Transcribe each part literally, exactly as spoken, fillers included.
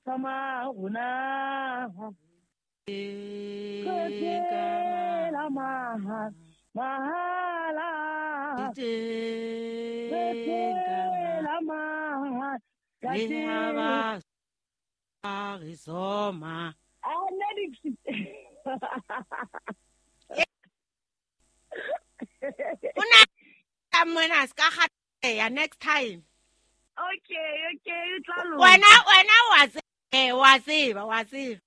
Sama rona la maha mahala la maha le Arizoma. Una mona ska ya next time. Okay, okay, o tla lo. Wena wena wa tseba, wa tseba, wa tseba.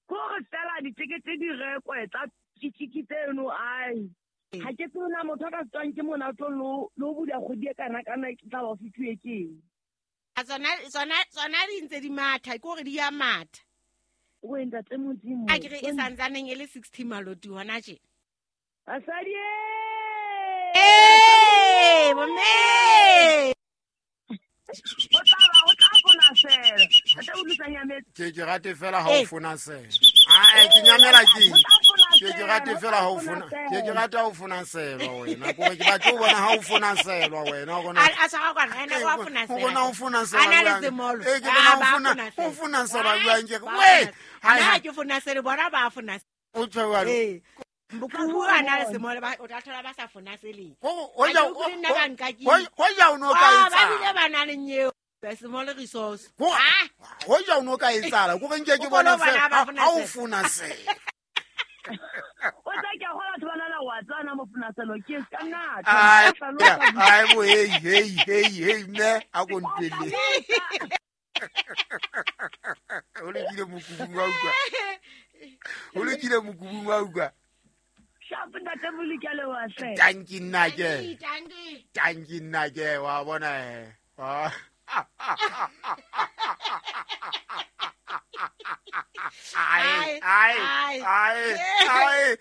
Go re fela ditekete di rekwe tsa tšitšiki tseno ai. Ha ke tsona motho ka tswang ke mona tlo lo lo bula kgodi e kana kana ke tla ba fitwe ke. A tsona tsona tsona di ntse di matha, ke hore di ya matha. O ntate Modimo. A ke re e santsaneng e le sixty maloti hona tje. Basadi eh, bomme. O tla ba o tla fona sela. Ate o lutsa nyametse. Ke ke rate fela ha o fona sela. Ah, ke nyamela ke. Ke ke rate fela ha o fona. Ke ke rata ha o fona sela wena. Ko ke batla o bona ha o fona sela wena o bona. A sa ga kwana ena wa fona sela. O bona o fona sela. Ana le semolo. E ke bona o fona o fona sela jwang ke. We, ha ke fona sela bona ba fona. O tshwa. Eh. Mbuku ana le semolo ba o tla thola ba sa fona seleng. O ja o ja o no ka etsa. Ba bile ba na le nyeo. Semolo resource. Ah, ho ja o no ka etsala. Ko re nke ke bona fela ha o fona sela. O tla ke hola batho bana la wa tsana mo fona selo ke ka nna. Ai, ai bo hey hey hey hey me a go ntwele. O le kile mokubung wa utlwa. O le kile mokubung wa utlwa. Tanki nna ke. Tanki nna ke wa bona eh. Ai ai ai ai.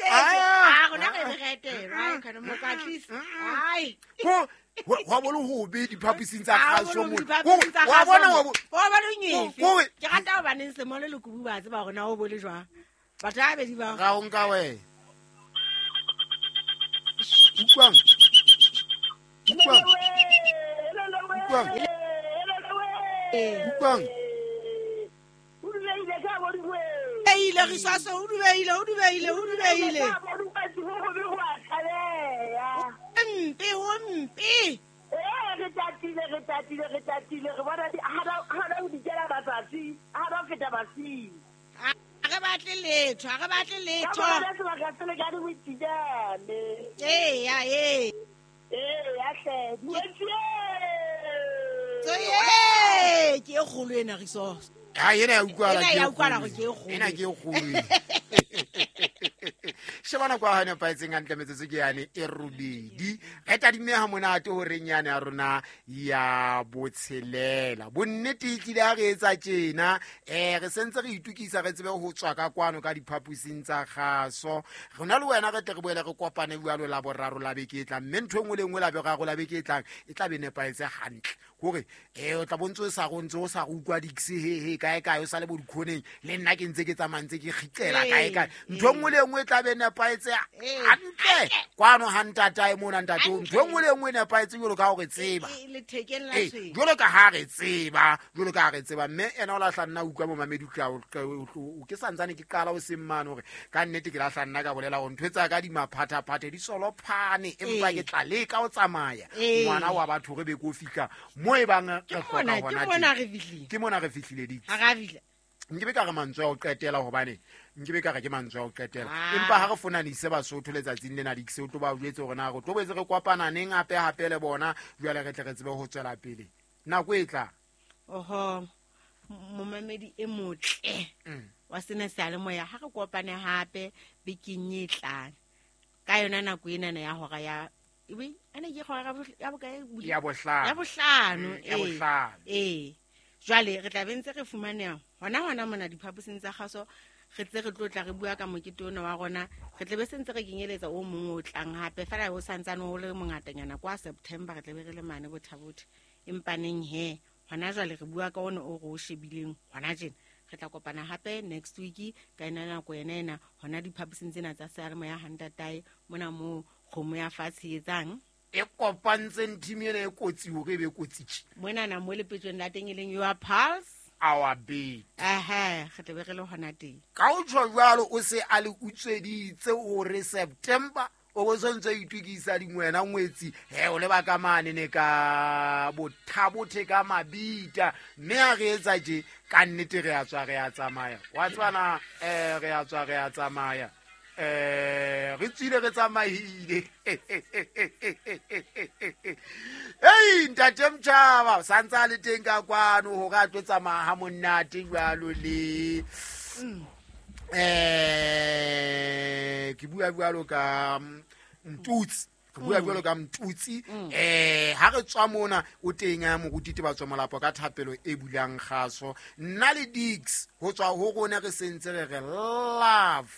Ah rona re re right kana mo ka tlisa. Ai. Ko wa bona ho be diphaposing tsa kgaso mo. Wa bona wa bona nyefe. Ke rata ho baneng semolo le kubu ba tseba hore na o bole jwang. Batho ba bedi ba. Ga o nka we. Ukwang. Ukwang. Ukwang. Ukwang. Ile re sasa o dubeile o dubeile o dubeile. Mpe ho mpe. Eh re tatile re tatile re tatile re bona di ha ha o di kela batsatsi ha ba feta basi. Re batle letho, re batle letho. Ka bona sebaka se le ka di witijane. Eh ya eh. Eh ya hle. Tsoye ke e kgolo ena resource. Ha ena ya utlwala ke ya utlwala go ke e kgolo. Ena ke e kgolo. Shebana kwa hane paetseng hantle metsotso ke yane e robedi. Re tadime ha monate horeng yane ya rona ya botshelela. Bonnete e tlile ha re etsa tjena, eh re sentse re itukisa re tsebe ho tswa ka kwano ka diphaposing tsa kgaso. Rona le wena re tle re boele re kopane jwalo la boraro la beke e tlang. Mme ntho e nngwe le nngwe la boraro la beke e tlang e tla be nepaetse hantle. Hore eh o tla bontse o sa go ntse o sa go utlwa dikse he he kae kae o sa le bo dikhoneng le nna ke ntse ke tsamaya ntse ke kgitlela kae kae. Ntho e nngwe le nngwe e tla be nepaetse hantle kwano ha ntatae mona ntate ntho e nngwe le nngwe e nepaetse jwalo ka hore tseba jwalo ka ha re tseba jwalo ka ha re tseba mme ena o lahla nna utlwa momamedi o ke santsane ke qala o seng mane hore ka nnete ke lahla nna ka bolela hore ntho tsa ka di maphathaphathe di solophane empa ke tla leka o tsamaya ngwana wa batho re be ko fihla mo e bang re hloka hona ke mona re fihlile ke mona re fihlile di ha ra fihla nke be ka re mantswe a ho qetela hobane nke be ka re ke mantswe a ho qetela empa ha re fonanise Basotho letsatsing lena dikse o tlo ba jwetse hore na re tlo boetse re kopana neng hape hape le bona jwale re tle re tsebe ho tswela pele nako e tla oho momamedi e motle wa sena seyalemoya ha re kopane hape bekeng e tlang ka yona nako ena ya hora ya ebe ana ke hora ya bokae ya bohlano ya bohlano ya bohlano eh jwale re tla be ntse re fumaneha hona hona mona diphaposing tsa kgaso re tse re tlo tla re bua ka mokete ona wa rona re tle be sentse re kenyeletsa o mong o tlang hape fela o santsane o le mongatanyana kwa September re tle be re le mane bothabothe empaneng he hona jwale re bua ka ona o re o shebileng hona tjena re tla kopana hape next week ka ena nako ena ena hona diphaposing tsena tsa seyalemoya ha ntatae mona mo kgomo ya fatshe etsang e kopantseng team ena e kotsi hore e be kotsi tje mona na mo lepetsweng la teng e leng your pulse our beat. Ehe, re tlabe re le hona teng. Ka o tjho jwalo o se a le utsweditse hore September o bo sontse o itokisa dingwena ngwetsi he o leba ka mane ne ka bothabothe ka mabita mme ha re etsa tje ka nnete re a tswa re a tsamaya wa tswana eh re a tswa re a tsamaya eh re tswile re tsamaile. Ei ntate Mtjhaba santse a le teng ka kwano hore a tlo tsamaya ha monate jwalo le eh ke bua jwalo ka Mtutsi ke bua jwalo ka Mtutsi eh ha re tswa mona o teng ya moruti ba tswa molapo ka thapelo e bulang kgaso nna le Dix ho tswa ho rona re sentse re re love,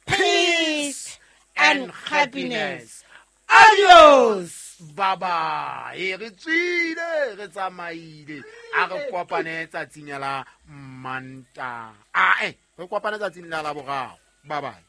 peace and happiness. Adios. Bye bye. Re tswile re tsamaile a re kopane tsatsing la Manta a eh re kopane tsatsing la Laboraro. Bye bye.